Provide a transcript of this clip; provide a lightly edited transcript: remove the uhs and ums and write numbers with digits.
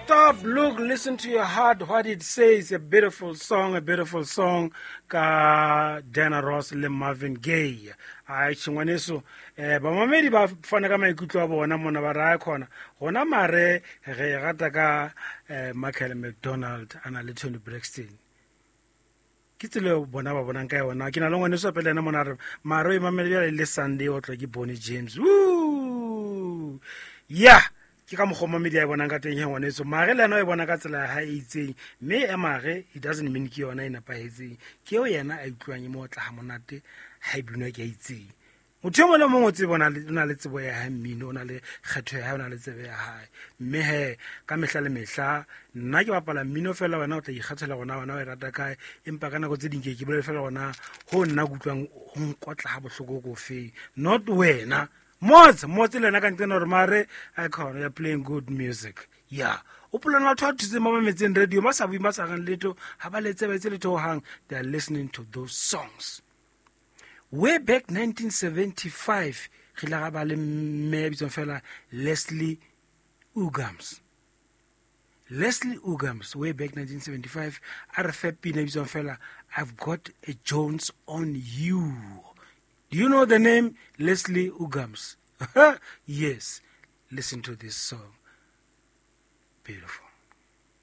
Stop, look, listen to your heart, what it says. A beautiful song, a beautiful song ka Diana Ross le Marvin Gaye. Ai tshingwaneso, bamamedi ba fana ka maikutlo a bona mona ba raya khona. Gona mare re rata ka Michael McDonald ana le Toni Braxton. Ke tsela eo bona ba bonang ka yona. Ke na le ngwaneso pele ena mona re mare o e mamele bjale le Sunday o tlwa ke Bonnie James. Woo! Yeah. Ke ka mokgwa mamedi a e bonang ka teng he ngwaneso. Mare le yena o e bona ka tsela ya hae e itseng, mme e mare it doesn't mean ke yona e nepahetseng. Ke eo yena a utlwang e mo otla ha monate ha e binwa ke a itseng. Motho e mong le mong o tsebe o na le tsebo ya hae mmino, o na le kgetho ya hae, o na le tsebe ya hae. Mme he ka mehla le mehla nna ke bapala mmino fela, wena o tla ikgethela gona wena o e rata kae, empa ka nako tse ding ke bolele fela gona ho nna ke utlwang ho nkotla ha bohloko ko feng, not wena. Motse, motse le yena ka nqena hore mare icon ya playing good music. Yeah. O polana batho ba thutseng ba mametseng radio, ba sa bueng, ba sa reng letho, ha ba letse, ba etse letho hohang, they are listening to those songs. Way back 1975, re ile ra ba le mme ya bitswang fela Leslie Uggams. Leslie Uggams, way back 1975, a re fe pina e bitswang fela I've Got a Jones on You. Do you know the name Leslie Uggams? Yes. Listen to this song. Beautiful.